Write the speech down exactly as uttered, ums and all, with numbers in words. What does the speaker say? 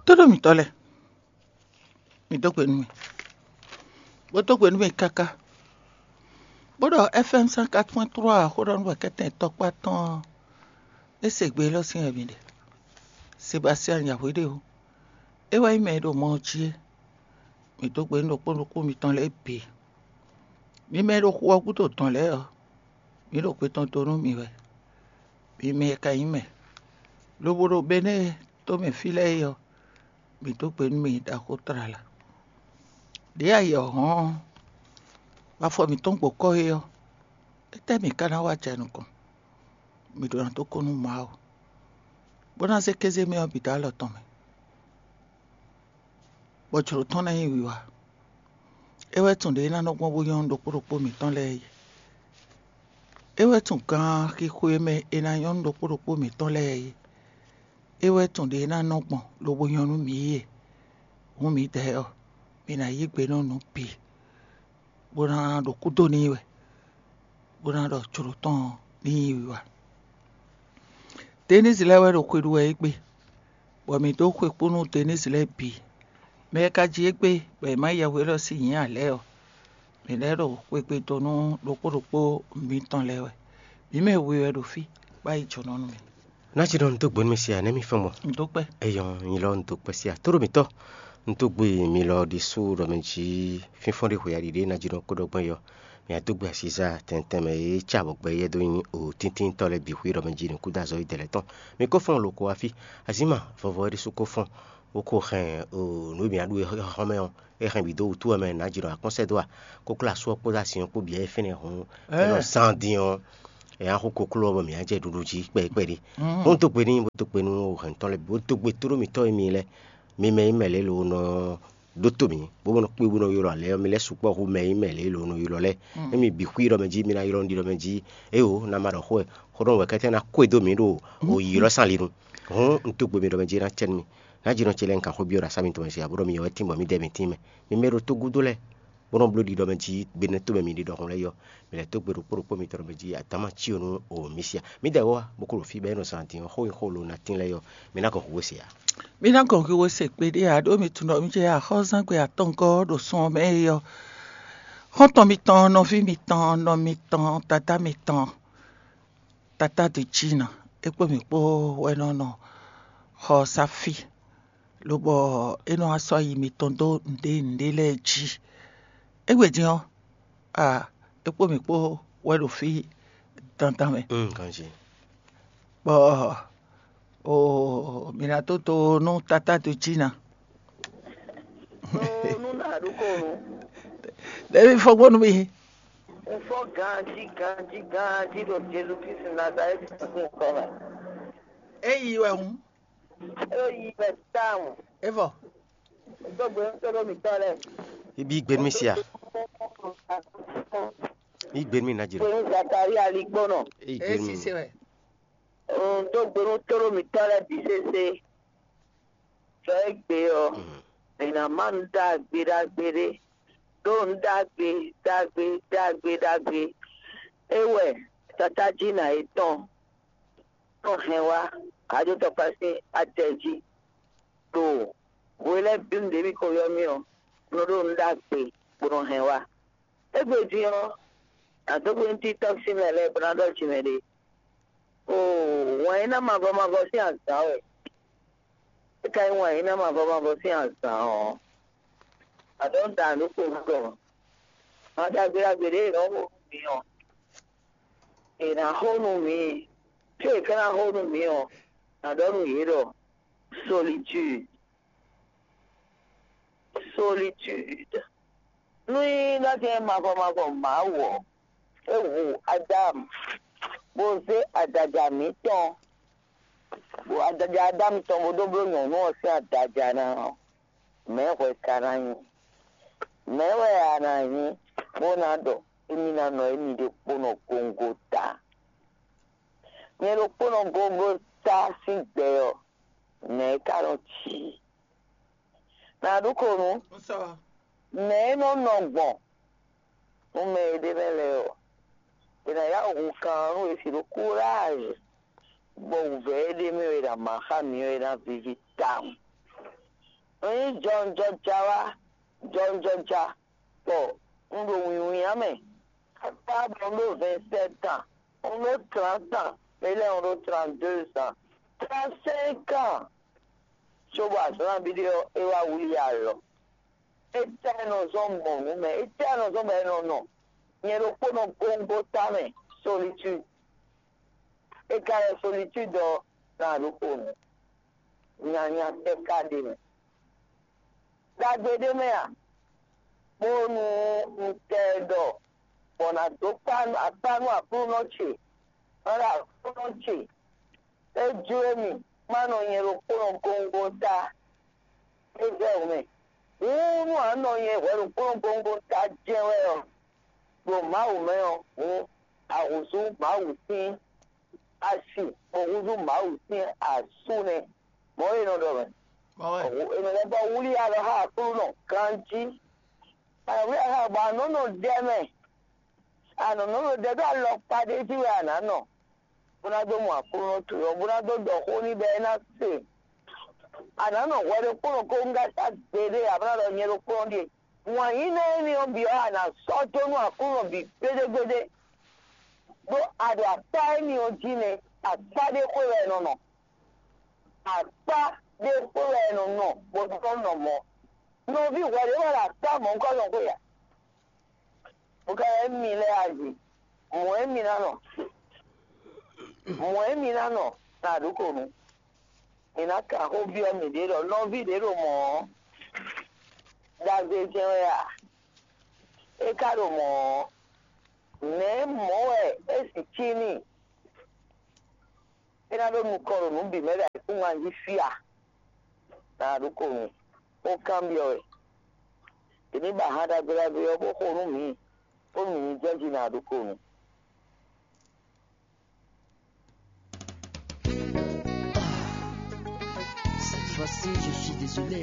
Tóɖó mǐtɔn lɛ́ɛ, mǐ dó gbe nú mì, bó dó gbe nú mì káká, bó ɖɔ F M cent quatre point trois xó ɖɔ nú wɛ kɛ́tɛn tɔkpá tɔn ɔ́, é se gbe élɔ́ sín wɛ mǐ ɖe. Sebastian Yahweh ɖe o, é wɛ nyí mɛ e ɖo mɔ ɔ́ jí é. Mǐ dó gbe nú ɖokpó ɖokpó mitɔn lɛ́ɛ bǐ. Mi mɛ e ɖo xu ɔ́ gúdo dɔ̌n lɛ́ɛ ɔ́, mǐ ɖo gbe tɔn dó nú mi wɛ. Mi mɛ e ka nyí mɛ, lobo ɖo Benɛ́ɛ tomɛ fí lɛ́ɛ é ɔ́, mǐ dó gbe nú mi ɖaxó tlala. Ɖěe ayǐ ɔ́ hɔ́n ɔ́, bɔ afɔ mǐtɔn gbo kɔ́ é ɔ́, étɛ́ mǐ ka ná wá jɛ nukɔn? Mǐ ɖó ná dó kú nú Mawu, bó ná zé kéze mɛ ɔ́ bǐ dó alɔ tɔn mɛ, bɔ jlǒ tɔn ná nyí wiwa. É wɛ tunwun ɖě e ná nɔ gbɔn bó nyɔ́ nú ɖokpó ɖokpó mǐtɔn lɛ́ɛ é. É wɛ tunwun ganxixo e mɛ è nǎ nyɔ́ nú ɖokpó ɖokpó mǐtɔn lɛ́ɛ é. É wɛ tunwun ɖě e ná nɔ gbɔn lobo nyɔ́ nú mǐ é. Hǔn mǐdɛɛ ɔ́, mǐ ná yí gbe nú nǔ bǐ, bó ná ɖo kúdó n'i wɛ, bó ná ɖɔ jlǒ tɔn ní nyí wiwa. Denise lɛ́ɛ wɛ ɖo xwe ɖu wɛ égbé, bɔ mǐ dó xwe kpó nú Denise lɛ́ɛ bǐ. Mɛ e ka ji égbé bɔ è má yɛhwe élɔ́ sín nyǐ ǎ lɛ́ɛ ɔ́, mǐ lɛ́ ɖo xwegbe dó nú ɖokpó ɖokpó mitɔn lɛ́ɛ wɛ. Mǐ mɛ we wɛ ɖo fí, bó yi jǒnɔ nú mì. Ná jí ɖɔ un dó gbe nú mi se ǎ, nɛ́ mi fɔ́n gbɔn? Un dó kpɛ́. Eyɔ́, nyi lɔ un dó kpɛ́ se ǎ. Tóɖó mǐtɔn, un dó gbe mi lɔ ɖésú ɖɔ mɛ jí fínfɔ́n ɖé hwe aɖi ɖé ná jí ɖɔ kó ɖɔ gbɔn yɔ. Mǐ á dó gbe asizá tɛntɛn mɛ e cá bɔ gbɛ yɛ dó nyi o tíntíntɔ́ lɛ́ɛ bǐ xwé ɖɔ mɛ jí nukúnɖó azɔ̌ yi dɛ̌ lɛ́ɛ tɔn. Mi kó fɔ́n lo ko wá fí. Azǐn ma vɔvɔ é ɖésú kó fɔ́n, bó ko hɛn o nǔ e mǐ á ɖu é xɔ́mɛ ɔ́, é hɛn bǐ dó wútu wɛ mɛ nǎ jí ɖɔ akɔ́nsɛ́ dó a? Kókló asú ɔ́ kpódó asin ɔ́ kpó bǐ wɛ é fɛ́nɛ hǔn é nɔ zán dín ɔ́, é ná xú kokló ɔ́ bɔ mǐ ná jɛ ɖuɖu jí kpɛɖí kpɛɖí. Hǔn dó gbe n'i, bó dó gbe nú hɛntɔ́ lɛ́ɛ bǐ, bó dó gbe tóɖó mǐtɔn e mi lɛ́ɛ, mi mɛ nyí mɛ lě lo nɔ ɖótó mǐ, bó nɔ kpé bó nɔ ylɔ́ alɛ ɔ́, mi lɛ́ sukpɔ́ hú mɛ nyí mɛ lě lo nɔ ylɔ́ lɛ́ɛ. Émi bǐ xwí ɖɔ mɛ jí, mi ná ylɔ́ nú ɖi ɖɔ mɛ jí. Éwo, ná ma ɖɔ xó wɛ, xó ɖɔ wɛ kɛ́tɛ́ ná kó e dó mǐ ɖo o ylɔ́ sín ali nu. Hǔn un dó gbe mi ɖɔ mɛ jí ná cɛ nú mi. Ná jí nɔ ce lɛ́ɛ un ka xwé byɔ́ ɖo asá mitɔn mɛ sia, bó ɖɔ mi yɔ wɛ tíngbɔ mǐdɛɛ mi tín mɛ. Mi mɛ ɖo tógúdó lɛ́ɛ, bó nɔ bló ɖi ɖɔ mɛ jí gbe nɛ́ tó mɛ mi ɖi ɖɔhun lɛ́ɛ yɔ. Mi lɛ́ dó gbe ɖokpó ɖokpó mitɔn ɖɔ mɛ jí adǎma cí ɔ́ nú o mǐ sia. Mǐdɛɛ wá bó ko ɖo fí bɔ é nɔ zán din ɔ́, xó nyi xó lo ná tín lɛ́ɛ yɔ. Mi ná gɔn hǔ we se ǎ. Mǐ ná gɔn hǔ we se kpéɖé ǎ, ɖó mi tunwun ɖɔ mǐ jɛ axɔ́zán gbe atɔngɔ́ ɖo sun ɔ́ mɛ é ɔ́. Xɔ́ntɔn mitɔn, nɔví mitɔn, nɔ mitɔn, dadá mitɔn, tatá ɖě jí ná, é kpó mǐ kpó wɛ nɔ nɔ xɔ ɔ́ sá fí, lobɔ é nɔ wá sɔ́ ayi mitɔn dó nǔɖé nǔɖé lɛ́ɛ jí. Égbé din ɔ́, a é kpó mǐ kpó wɛ ɖo fí dandan mɛ. Mm, ganjí. Bɔ o mǐ ná tó to nú tatá do jí ná. Nú nú nǎ ɖokónu. Ɖevi fɔgbɔnu mi. Un fɔ ganjí ganjí ganjí ɖo Jezu Kristu Nazalɛ́ti sín nukɔn mɛ. Eyi wɛ hun. Eyi wɛ tawun. Evɔ. Dó gbe nú tóɖó mǐtɔn lɛ́ɛ. Ibi gbenu mi sia. Ibi gbenu mi na jiro. Gbenu Zakaria ligbɔnɔ. Eyi gbenu. Esi se wɛ. Un dó gbe nú tóɖó mǐtɔn lɛ́ɛ bǐ sésé. Sɔ égbé ɔ́, mǐ ná má nǔ ɖagbe ɖagbe ɖé, ɖó nǔ ɖagbe ɖagbe ɖagbe ɖagbe. É wɛ tatájínà yětɔn nɔ hɛn wá Aɖótɔkpá sín atɛ jí ɖo hwe lɛ́ɛ bǐ nǔɖé mì ko ylɔ́ mì ɔ́, un nɔ ɖó nǔ ɖagbe bó nɔ hɛn wá. Égbé din ɔ́, nǎ dó gbe nú títɔ́ sín mɛ lɛ́ɛ bó ná ɖɔ jǐ mɛ ɖé. Oo, wǎn e ná mavɔ mavɔ sín azǎn wɛ. É ka nyí wǎn e ná mavɔ mavɔ sín azǎn ɔ́, aɖɔ̌ da nǔ ko gɔ́. Wǎn ɖagbe ɖagbe ɖě è nɔ xo nú mǐ ɔ́, è nǎ xo nú mǐ. Có è ka ná xo nú mǐ ɔ́, nǎ ɖɔ nú yě ɖɔ solitude. Solitude. Nú nyí ɖɔ jɛ́n mavɔ mavɔ Mawu ɔ́, é hu Adámu, bó zé adada mǐtɔn, bɔ adada Adámu tɔn bó dó bló nyɔ̌nu ɔ́ sín adada ná ɔ́, mɛ̌ hwɛ ka ná nyí? Mɛ̌ wɛ a nǎ nyí bó ná ɖɔ émí ná nɔ émí ɖokpónɔ góngota? Nyɛ ɖokpónɔ góngota sín gbɛ ɔ́, nɛ̌ é ka nɔ cí? Nǎ ɖu ko nú mɛ e nɔ nɔ gbɔn nú mɛ e ɖ'é mɛ lɛ́ɛ ɔ́, è nǎ yá hu kan ɔ́ nú è si ɖó kúráazi, bɔ wǔvɛ́ e ɖ'é mɛ ɔ́ è nǎ má xá mǐ ɔ́, é ná víví tawun. Un nyí jɔnjɔja wá, jɔnjɔja, bɔ un ɖo wǐnwín mɛ. Akpá bɔ un ɖó vingt-sept ans, un ɖó trente ans, mɛ lɛ́ɛ un ɖó trente-deux ans, trente-cinq ans. Cóbɔ azǎn nabí ɖé ɔ́, é wá wlí alɔ. Étɛ́ nɔ zɔ́n gbɔn nǔ mɛ? Étɛ́ nɔ zɔ́n bɔ è nɔ nɔ? Nyɛ ɖokpónɔ góngóta mɛ, solitude. É ka lɛ́ solitude ɔ́, ná ɖokpónɔ. Nyanya tɛ́ ka ɖe mɛ? Ɖagbe ɖé mɛ a? Bónú un tɛ ɖɔ, bɔ nǎ dó akpá nú Aklúnɔ ce, má ɖo Aklúnɔ ce. É jló mì má nɔ nyɛ ɖokpónɔ góngóta. É vɛ́ wǔ mɛ. Hǔn nú a nɔ nyɛ hwɛ ɖokpónɔ góngóta jɛ́n wɛ ɔ́, ɖo Mawu mɛ ɔ́, hǔn a húzú Mawu sín asi, bó húzú Mawu sín asú nɛ́. Mɔ̌ e nɔ ɖɔ mɛ. È nɔ lɛ́ bɔ wlí alɔ xá Aklúnɔ ganjí. Alɔ wlí alɔ xá bɔ a nɔ nɔ ɖɛ mɛ. A nɔ nɔ ɖɛ ɖó alɔkpa ɖé jí wɛ a nǎ nɔ, bó ná dó mɔ Aklúnɔ towe ɔ́, bó ná dó ɖɔ xó n'i bɔ é ná se. A nǎ nɔ hwɛ ɖokpónɔ kónúŋgata gbeɖé, a bó ná ɖɔ nyɛ ɖokpónɔ ɖíe. Wǎn yíyí énɛ́ ɔ́ bǐ ɔ́, a nǎ sɔ́ dó nú Aklúnɔ bǐ gbéɖégbéɖé. Ɖó a ɖo akpá énɛ́ ɔ́ jí nɛ́, akpá ɖé xwé wɛ è nɔ nɔ. Akpá ɖé xwé wɛ è nɔ nɔ bó dó nɔ mɔ̌. Nɔví hwɛ ɖě wɛ ɖo akpá mɔ̌hunkɔtɔn xwé a? Bó ka wɛ émí lɛ́ɛ a jí. Mɔ̌ émí ná nɔ. Mɔ̌ émí ná nɔ na ɖǒ ko nu. Mǐ ná kan xó byɔ́ mǐɖée ɖɔ nɔví ɖě ɖo mɔ̌ ɔ́, ɖagbe jɛ́n wɛ a? É ka ɖo mɔ̌ ɔ́, nɛ̌ mɔ̌ wɛ é sixú cí n'i? É ná ɖó nukɔn ɖo nǔ bǐ mɛ ɖo ayǐkúngban jí fí a? Ná ɖó ko nu, bó kanbyɔ́ wɛ. È ní ba han ɖagbe ɖagbe ɔ́ bó xo nú mǐ, bónú mǐ ní jɛ jí ná ɖó ko nu. Cette fois-ci, je suis désolé.